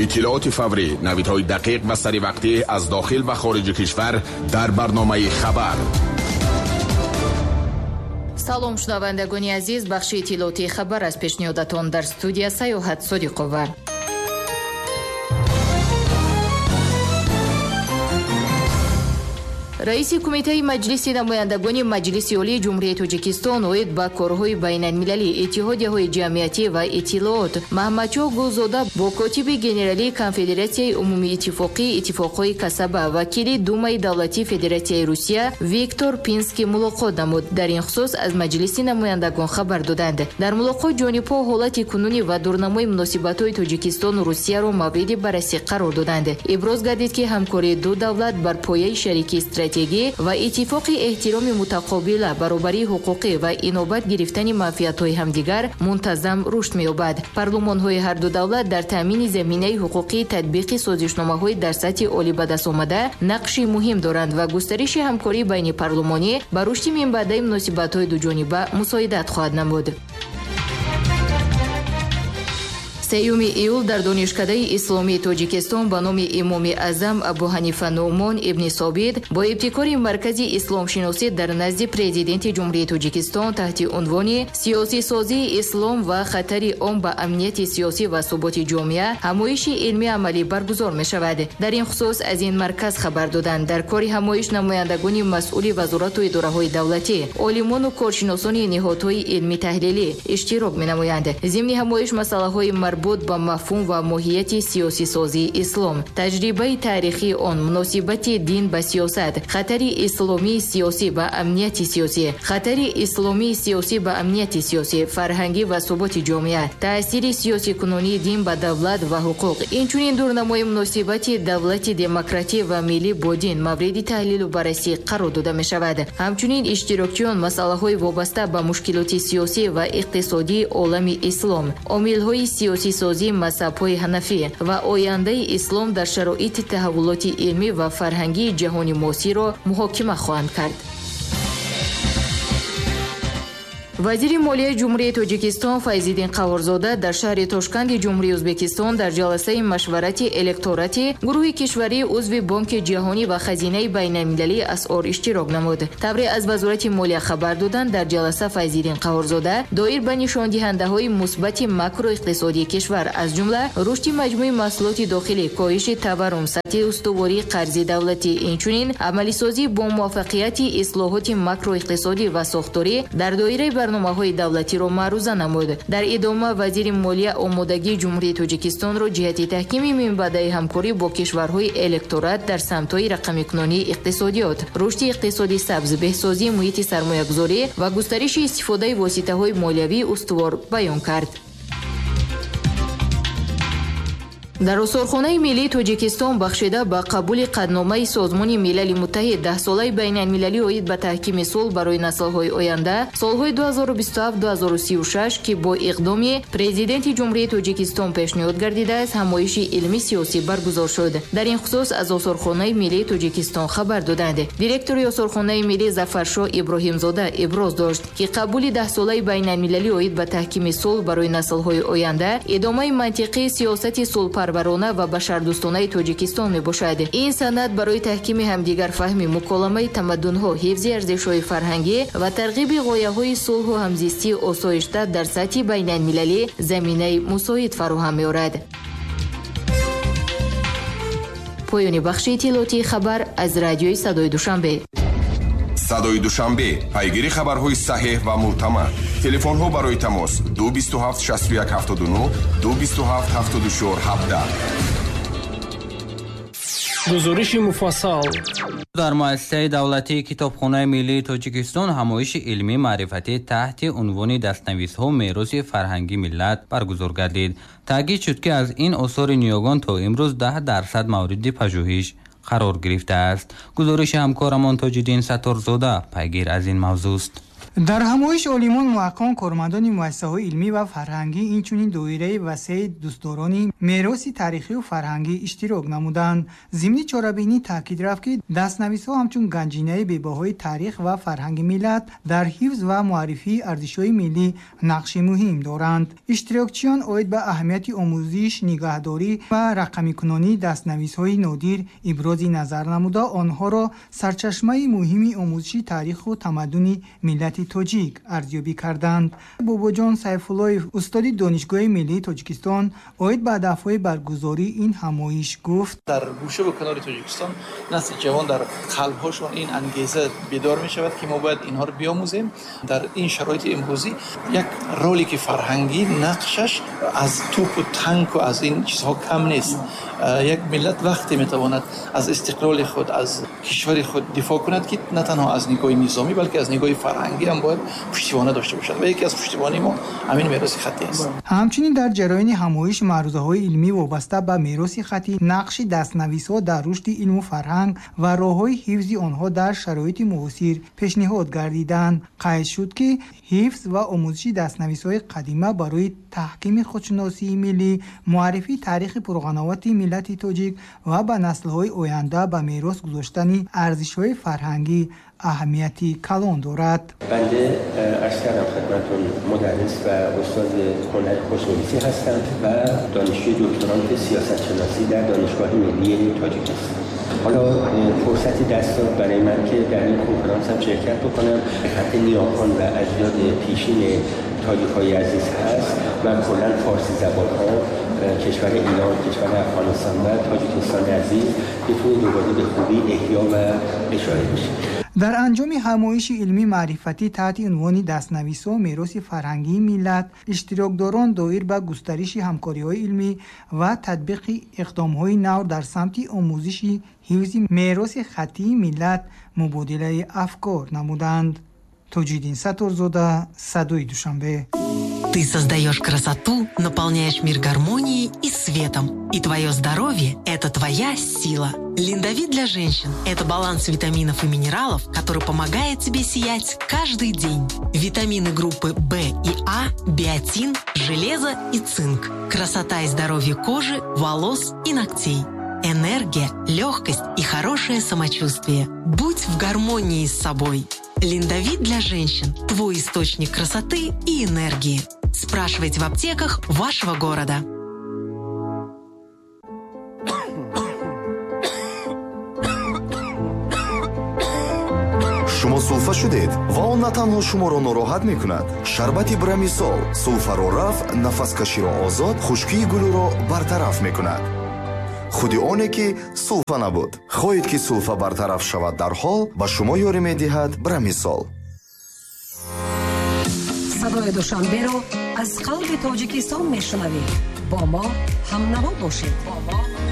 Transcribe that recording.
Иттилооти фаврӣ, навидҳои дақиқ ва саривақтӣ аз дохил ва хориҷи кишвар дар барномаи «Хабар». Салом, шунавандагони азиз, бахши иттилоотии «Хабар» аз пешниҳодатон, дар студия Саёҳат Содиқова. Раиси Кумитаи Маҷлиси намояндагони Маҷлиси Олии Ҷумҳурии Тоҷикистон оид ба корҳои байналмилалӣ, иттиҳодияҳои ҷамъиятӣ ва иттилоот Маҳмадшоҳ Гулзода бо котиби генералии Конфедератсияи умумииттифоқии иттифоқҳои касаба, вакили Думаи давлатии Федератсияи Русия Виктор Пинский мулоқот намуд. Дар ин хусус аз Маҷлиси намояндагон хабар доданд. Дар мулоқот ҷонибҳо ҳолати кунунӣ ва дурнамои муносибатҳои Тоҷикистону Русияро мавриди баррасӣ қарор доданд. Иброз гардид, ки ҳамкории ду давлат бар пояи шарики стратегӣ ва иттифоқи эҳтироми мутақобила, баробарии ҳуқуқӣ ва инобат гирифтани манфиатҳои ҳамдигар мунтазам рушд меёбад. Парлумонҳои ҳарду давлат дар таъмини заминаи ҳуқуқии татбиқи созишномаҳои дар сатҳи олӣ ба даст омада нақши муҳим доранд ва густариши ҳамкории байнипарлумонӣ ба рушди минбаъдаи муносибатҳои дуҷониба мусоидат хоҳад намуд. 3 июл дар Донишкадаи исломии Тоҷикистон ба номи Имоми Аъзам Абу Ҳанифа Нуъмон ибни Собит бо ибтикори Маркази исломшиносӣ дар назди Президенти Ҷумҳурии Тоҷикистон таҳти унвони «Сиёсисозии ислом ва хатари он ба амнияти сиёсӣ ва суботи ҷомеа» ҳамоиши илмии амалӣ баргузор мешавад. Дар ин хусус аз ин марказ хабар доданд. Дар кори ҳамоиш намояндагони масъули вазорату идораҳои давлатӣ, олимону коршиносони ниҳодҳои илмӣ таҳлилӣ иштирок менамоянд. Зимни ҳамоиш масъалаҳои марбут ба мафҳум ва моҳияти сиёсисозии ислом, таҷрибаи таърихии он, муносибати дин ба сиёсат, хатари исломии сиёсӣ ба амнияти сиёсӣ, хатари исломии сиёсӣ ба амнияти сиёсӣ, фарҳангӣ ва суботи ҷомеа, таъсири сиёсикунонии дин ба давлат ва ҳуқуқ, инчунин дурнамои муносибати давлати демократӣ ва миллӣ бо дин мавриди таҳлилу баррасӣ қарор дода мешавад. Ҳамчунин иштирокчиён масъалаҳои вобаста ба мушкилоти сиёсӣ ва иқтисодии олами ислом, омилҳои сиёсисозии мазҳабҳои ҳанафӣ ва ояндаи ислом дар шароити таҳаввулоти илмӣ ва фарҳангии ҷаҳони муосирро муҳокима хоҳанд кард. Вазири молияи Ҷумҳурии Тоҷикистон Файзиддин Қаҳҳорзода дар шаҳри Тошканди Ҷумҳурии Ӯзбекистон дар ҷаласаи машварати электорати гурӯҳи кишварии узви Бонки ҷаҳонӣ ва Хазинаи байналмилалии асъор иштирок намуд. Тавре аз Вазорати молия хабар доданд, дар ҷаласа Файзиддин Қаҳҳорзода доир ба нишондиҳандаҳои мусбати макроиқтисодии кишвар, аз ҷумла рушди маҷмӯи маҳсулоти дохилӣ, коҳиши таваррум, сатҳи устувории қарзи давлатӣ, инчунин амалисозӣ бо муваффақияти ислоҳоти макроиқтисодӣ ва сохторӣ дар доираи барномаҳои давлатиро маъруза намуд. Дар идома вазири молия омодагии Ҷумҳурии Тоҷикистонро ҷиҳати таҳкими минбаъдаи ҳамкорӣ бо кишварҳои электорат дар самтҳои рақамикунонии иқтисодиёт, рушди иқтисоди сабз, беҳсозии муҳити сармоягузорӣ ва густариши истифодаи воситаҳои молиявии устувор баён кард. Дар Осорхонаи миллии Тоҷикистон бахшида ба қабули қатъномаи Созмони Милали Муттаҳид даҳсолаи байналмилалӣ оид ба таҳкими сулҳ барои наслҳои оянда солҳои 2027-2036, ки бо иқдоми Президенти Ҷумҳурии Тоҷикистон пешниҳод гардидааст, ҳамоиши илмӣ сиёсӣ баргузор шуд. Дар ин хусус аз Осорхонаи миллии Тоҷикистон хабар доданд. Директори Осорхонаи миллӣ Зафаршоҳ Иброҳимзода иброз дошт, ки қабули даҳсолаи байналмилалӣ оид ба таҳкими сулҳ барои наслҳои оянда идомаи мантиқии сиёсати сулҳпарварона ва башардӯстонаи Тоҷикистон мебошад. Ин санад барои таҳкими ҳамдигарфаҳмӣ, муколамаи тамаддунҳо, ҳифзи арзишҳои фарҳангӣ ва тарғиби ғояҳои сулҳу ҳамзистии осоишта дар сатҳи байналмилалӣ заминаи мусоид фароҳам меорад. Поёни бахши иттилоотии «Хабар» аз радиои Садои Душанбе. Садои Душанбе, пайгири хабарҳои саҳеҳ ва мӯътамад. Телефонҳо барои тамос 227 61 79, 227 74 17. Гузориши муфассал. Дар муассисаи давлатии Китобхонаи миллии Тоҷикистон ҳамоиши илмӣ маърифатӣ таҳти унвони «Дастнависҳо мероси фарҳанги миллат» баргузор гардид. Таъкид шуд, ки аз ин осори ниёгон то имрӯз 10% мавриди пажӯҳиш қарор гирифтааст. Гузориши ҳамкорамон Тоҷиддин Сатторзода пайгир аз ин мавзӯст. Дар ҳамоиш олимон, муҳаққиқон, кормандони муассисаҳои илмӣ ва фарҳангӣ, инчунин доираи васеи дӯстдорони мероси таърихию фарҳангӣ иштирок намуданд. Зимни чорабинӣ таъкид рафт, ки дастнависҳо ҳамчун ганҷинаи бебаҳои таърих ва фарҳанги миллат дар ҳифз ва муаррифии арзишҳои миллӣ нақши муҳим доранд. Иштирокчиён оид ба аҳамияти омӯзиш, нигаҳдорӣ ва рақамикунонии дастнависҳои нодир ибрози назар намуда, онҳоро сарчашмаи муҳими омӯзиши таъриху тамаддуни миллати тоҷик арзёбӣ карданд. Бобоҷон Сайфуллоев, устоди Донишгоҳи миллии Тоҷикистон, оид ба ҳадафҳои баргузории ин ҳамоиш гуфт: Дар гӯшаву канори Тоҷикистон насли ҷавон дар қалбҳошон ин ангеза бедор мешавад, ки мо бояд инҳоро биомӯзем. Дар ин шароити имрӯзӣ як ролики фарҳангӣ нақшаш аз тӯпу танку аз ин чизҳо кам нест. Як миллат вақте метавонад аз истиқлоли худ, аз кишвари худ дифоъ кунад, ки на танҳо аз нигоҳи низомӣ, балки аз нигоҳи фарҳангӣ ҳам бояд пуштибона дошта бошад ва яке аз пуштибони мо ҳамин мероси хаттӣ аст. Ҳамчунин дар ҷараёни ҳамоиш маърузаҳои илмӣ вобаста ба мероси хаттӣ, нақши дастнависҳо дар рушди илму фарҳанг ва роҳҳои ҳифзи онҳо дар шароити муосир пешниҳод гардиданд. Қайд шуд, ки ҳифз ва омӯзиши дастнависҳои қадима барои таҳкими худшиносии миллӣ, муаррифии таърихи пурғановати миллати тоҷик ва ба наслҳои оянда ба мерос гузоштани арзишҳои фарҳангӣ аҳамияти калон дорад. بنده عرض کردم خدمتتون، مدرس و استاد هنر خوشنویسی هستم و دانشجوی دکترانت سیاست شناسی در دانشگاه ملی تاجیکستان. حالا فرصتی دست داد برای من که در این کنفرانس هم شرکت بکنم. خط نیاکان و اجداد پیشین تاجیک های عزیز هست و کلا فارسی زبان ها، کشور ایران، کشور افغانستان و تاجیکستان عزیز بتونه دوباره به خوبی احیا و اشاره بشه. Дар анҷоми ҳамоиши илмӣ маърифатӣ таҳти унвони «Дастнависҳо мероси фарҳангии миллат» иштирокдорон доир ба густариши ҳамкориҳои илмӣ ва татбиқи иқдомҳои нав дар самти омӯзиши ҳифзи мероси хаттии миллат мубодилаи афкор намуданд. Тоҷиддин Сатторзода, «Садои Душанбе». Ты создаешь красоту, наполняешь мир гармонией и светом. И твое здоровье – это твоя сила. Линдовит для женщин – это баланс витаминов и минералов, который помогает тебе сиять каждый день. Витамины группы В и А, биотин, железо и цинк. Красота и здоровье кожи, волос и ногтей. Энергия, легкость и хорошее самочувствие. Будь в гармонии с собой. Линдовит для женщин – твой источник красоты и энергии. Спрашивайте в аптеках вашего города. Шумо сулфа шудед ва он на танҳо шуморо нороҳат мекунад. Шарбати Брамисол сулфаро рафъ, нафаскаширо озод, хушкии гулӯро бартараф мекунад. Худи оне ки сулфа набуд. Хоҳед, ки сулфа бартараф шавад дарҳол, ба шумо ёрӣ медиҳад Брамисол. Садои Душанберо аз қалби Тоҷикистон мешунавед. Бо мо ҳамнаво бошед. Бо мо.